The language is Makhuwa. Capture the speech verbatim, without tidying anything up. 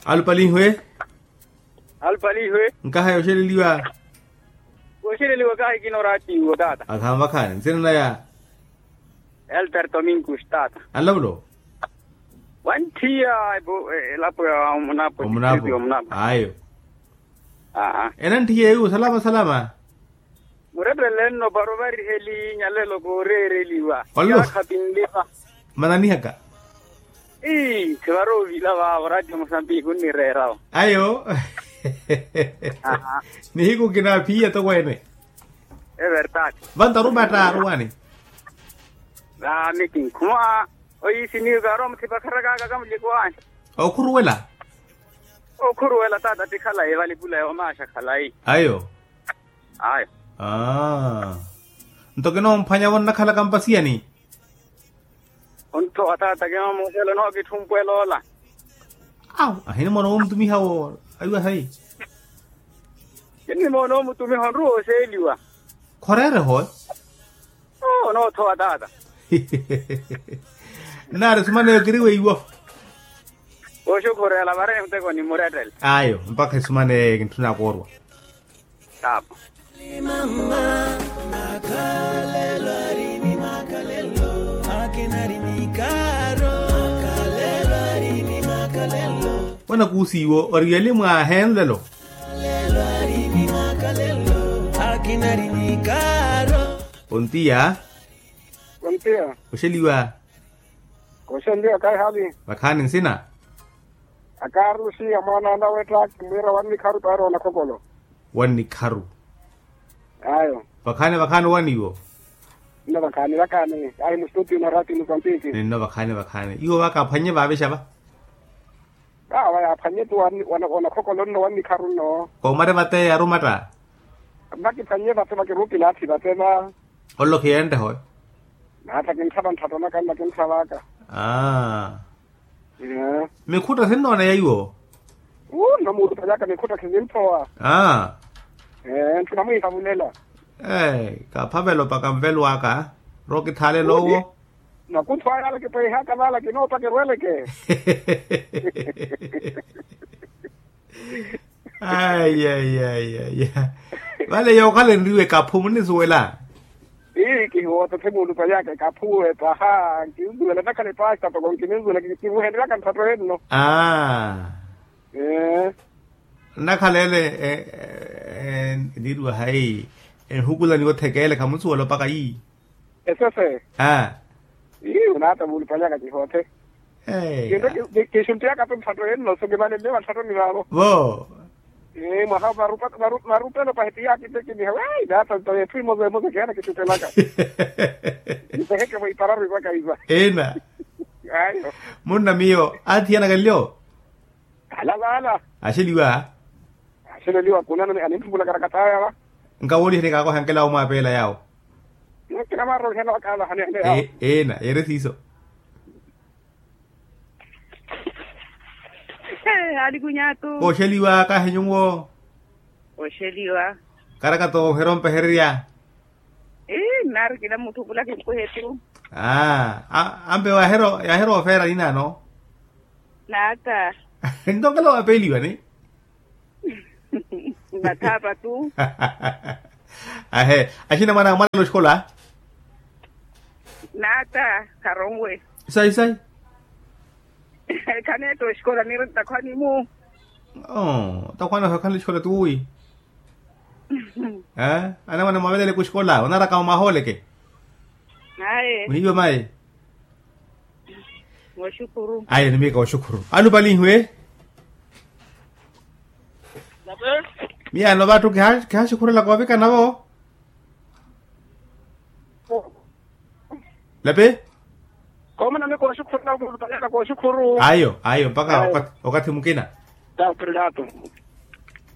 Alupalihiwe. Alupalihiwe. Nkaha yoxeleliwa. Woxeleliwa kahi kinoraatiwo taata. Akhanvakhaani nsina naya. Elter tominkus taata. Anlavulo. Wanthiya elapo ya omunapo. Omunapo. Ayo. Enanthiya eyo salama salama. Murepele nno para ovariheli nyalelo kooreereliwa. Olo. Yaakha pinlipa. Mananihaka. Ii khivaroovila vaavo ratio mosambiki onnireerawo. Ayo. Nihiku kinaphiya tokweene. Everdade. Vantarumatta aruwani. Ami kinkhuma. Oyiisiniwe kaari omuthipakharakaka kamulikwani. Okhuruwela. Okhuruwela taata ti khalayi valipula yoomaaxa khalayi. Ayo. Ayo. Aa. Nto kinoomphwanyavo nnakhalaka mpasiyani. Onthowa taata kinoomuukhela onookitthumpwela ola. Awu ahinimoona woomutumiha wo. Aiwa sayi. Kinnimoona omutumiha onruwa oseeliwa. Khoreere howe. Oo onoothowa taata. Nnaari esumaneyo kiriweiwo. Oxukhurela vari emuteko nimurettele. Ayo mpakha esumaneyo kintthuna koorwa. Taapa. Wanakuusiwo ori yeli mwaahenlelo. Ontiya. Ontiya. Oxeliwa. Oxeliwa kaihali. Vakhaani nsina. Akarusi amwaana ana wettha kimwiira wannikharu paari onakhokolo. Wannikharu. Ayo. Vakhaani vakhaani waniwo. Nno vakhaani vakhaani ahi mustutio na rati muzambiki. Ninno vakhaani vakhaani iwo vaka aphwannye vaavexa va. Vaawa yaaphwannye tu. Onakhokolo nno wannikharu nno. Koomari vate yarumatta. Vakiphwannye vate vakirupila athi vate va. Olokhiya enreho. Naatta kintthava ntthatto naka nna kintthavaaka. Aa. Mikhutta sinnooneya iwo. Uu nno muulupanyaka mikhutta khisimphowa. Aa. Ntthuna mwiihavulela. Kaaphavela opaka nvelo aka. Rookithaalela owo. Makuntho aya ala kipweihaka vaala kinoopa kirweleke. Ayi ayi ayi ayi. Vale yookhala enriwa ekaphu munnisuwela. Ii kihiwootothe muulupanyaka ekaphu epaha. Nkinsuwela nnakhala epaha toko nkininsuwela kivuhenryaka ntthatto enno. Aa. Nnakhala ele. Niriwa hayi enhukulani othekeele khamunsuwela opaka ii. Esese. Aa. Ii onaata muulupanyaka kihoothe. Kinto kixuntiyaka tu ntthatto enno so kivalelle vatthattoni vaavo. Vo. Mwaha marupelo pahi ti yaakittekiniha wi naata nto yetthu emosa emosa kihana kixuttelaka. Mpeheke vo ipararu ivaka iva. Ina. Ayo. Munna miyo aathiyanaka nlyo. Ala vaala. Axeliwa. Axeleliwa kunani aninthumpulaka rakataya va. Nkawoolihani kaakoha nkela omwaapeela yaawo. Kinamaroohela wakaalahaneene yaawo. Ena yeere siiso. Alikunyatu. Kooxeliwa kahi nyuwo. Kooxeliwa. Karakato ohero mpehererya. Ii nnaari kila mutthu khula kinkwehe tu. Aa. Ampe yaaheera ofeera ninaano. Naata. Nto nkela waapeeliwa ni. Nathaapa tu. Ahe. Axina mwaana mwaala oxikola. Naata kharonwe. Sayi sayi. Khaneetta oxikola niiri ntakhwani-mu. Oo ntakhwani oxikola tuwi. Anamwane mwaveleleke oxikola onaraka omahooleke. Aye. Muhiiwe mayi. Aye ni miika oxukhuru alupalihiwe. Miyaano vatthu kihaaxukhurelaka ovikana vo. Lapi. Koomana mi kooxukhurela okhulupalaka kooxukhuru. Ayo ayo mpakha okathi mukina. Tapu.